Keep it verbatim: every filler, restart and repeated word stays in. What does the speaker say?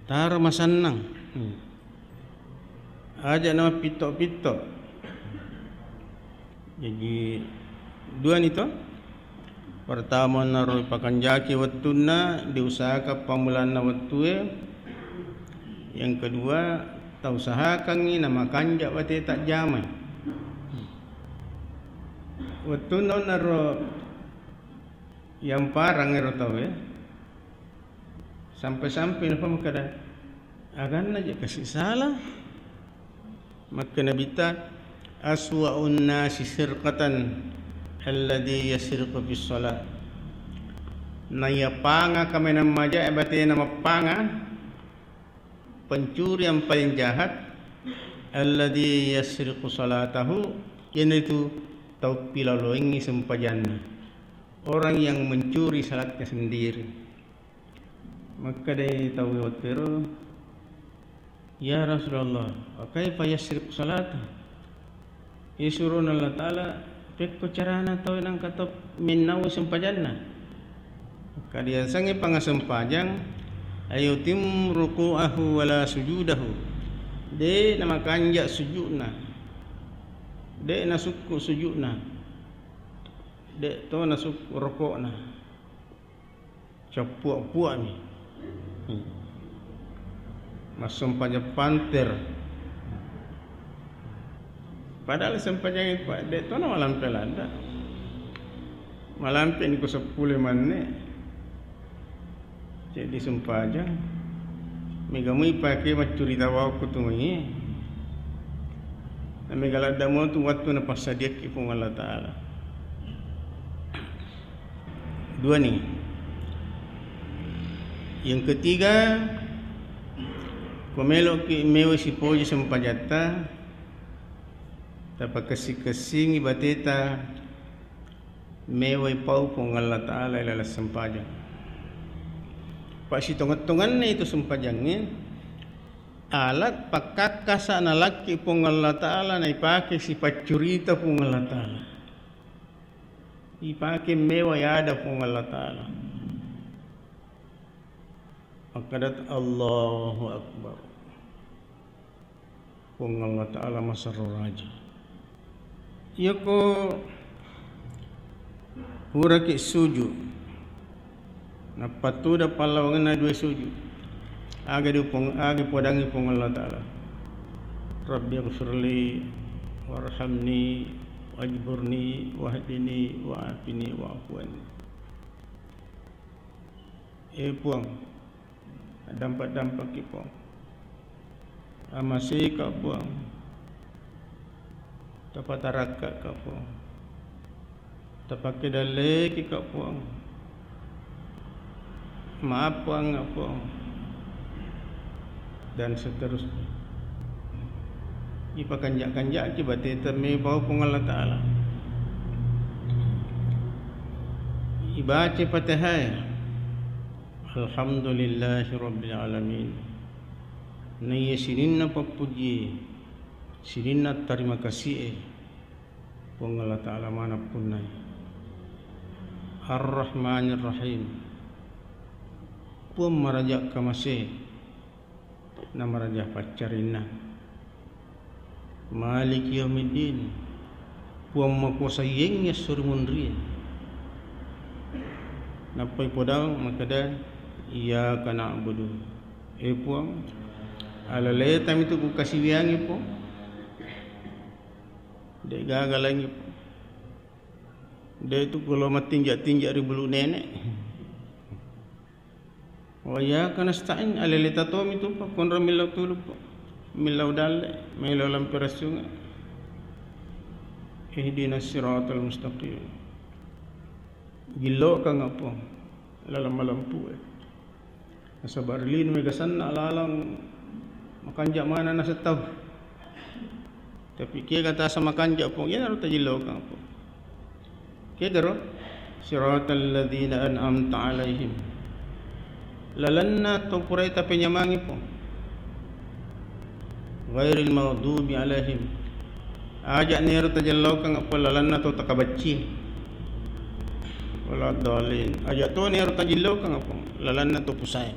Taro masennang. Hmm. Aja' namappitto-pitto. Jaji, duani to. Pertama, naro ipakanjaki wettunna, diusahakan pammulanna wettue. Yang kedua, tausahakangngi namakanja' bateta jamai. Wettunna naro yamparang ero tauwe, sampai-sampai napa makkeda, "Aganna je kasi' sala." Makkeda Nabitta, "Aswa'un nasi sirqatan alladzi yasriqu fis shalah." Naiyapanga kamenang maja' e batena mappanga, pencuri yang paling jahat, alladzi yasriqu salatahu, iyanaritu tau pilaloengngi sempajanna. Orang yang mencuri salatnya sendiri. Makkedai tau wettero, "Ya Rasulullah, wa kaifa yasriqu salata?" Isurona Allah Ta'ala, pekko carana tau nangka tau mennau sempajanna? Makkedai yasengnge pangasempajang, ayutim ruku'ahu wala sujudahu. De' namakanja' sujudna. De' nasukku sujudna. De' to nasukku roko'na. Cappua-puami. Hmm. Massempajang panter. Padahal sempajang itu, Pak, de' to na malampe ladda. Malampe ni ko seppulo manne. Jadi sempajang. Mega mui pake maccurita wau ko tu mai. Na mega ladda mo tu wattu napassadiakki Puang Allah Ta'ala. Dua ni. Yang ketiga, ko meloki mewa sipoji sempajatta, tapakessing-kessingi bateta mewai pau Puang Allah Ta'ala ilaleng sempajang. Pasitongeng-tongenna itu sempajangnge, alat pakkakkasa nalakki Puang Allah Ta'ala naipake sipaccurita Puang Allah Ta'ala. Ipake mewa yada Puang Allah Ta'ala. Makkedata, "Allahu Akbar. Puang Allah Ta'ala maserro raja." Iyako puraki suju, nappa tuda pallawangenna dua suju. Aga di Puang, aga podangi Puang Allah Ta'ala. Rabbi ighfirli warhamni wajburni wahdini wa'afini wa'fu anni. Eh Puang, dampak-dampakki Puang. Amasika Puang. Tapatarakka ka Puang. Tapakke dallekika Puang. Maaf Puang, Puang. Dan seterusnya. Ipakanja-kanjaki bateta mebau Puang Allah Ta'ala. Ibaca Fatihah. Alhamdulillahi Rabbil Alamin. Naiya sininna pappujie, sininna tarima kasi'e, Puang Allah Ta'ala maneng punnai. Ar-Rahmanir Rahim. Puang maraja kamase, namaraja paccarinna. Maliki yaumiddin. Puang makuasa yengngi esso ri munrie. Nappai podang makkeda, "Iyyaka na'budu." Eh Puang, alaleta mitu kukasiwiangi Puang. De' gaga laingnge Puang. De' tu kulo mattinja-tinja ri bulu nenek. Wa iyyaka nasta'in, aleleta tomi tu, Pak, konro millau tulu, Pak. Millau dalle, millau lampe rassunga. Ihdinas siratal mustaqim. Gilloka ngapong, lalang malampu e. Nasaba ri lino mega sanna lalang makanja maneng naseng tau. Tapi kega tasa makanja Puang, iyanaro tajillokang Puang. Kegaro? Siratal ladzina an'amta alaihim. Lalenna to purae tapenyamangi Puang. Ghairil maghdubi alaihim. Aja nero tajillokang Puang lalenna to takabacci. Waladdallin. Aja to nero tajillokang Puang lalenna to pusae.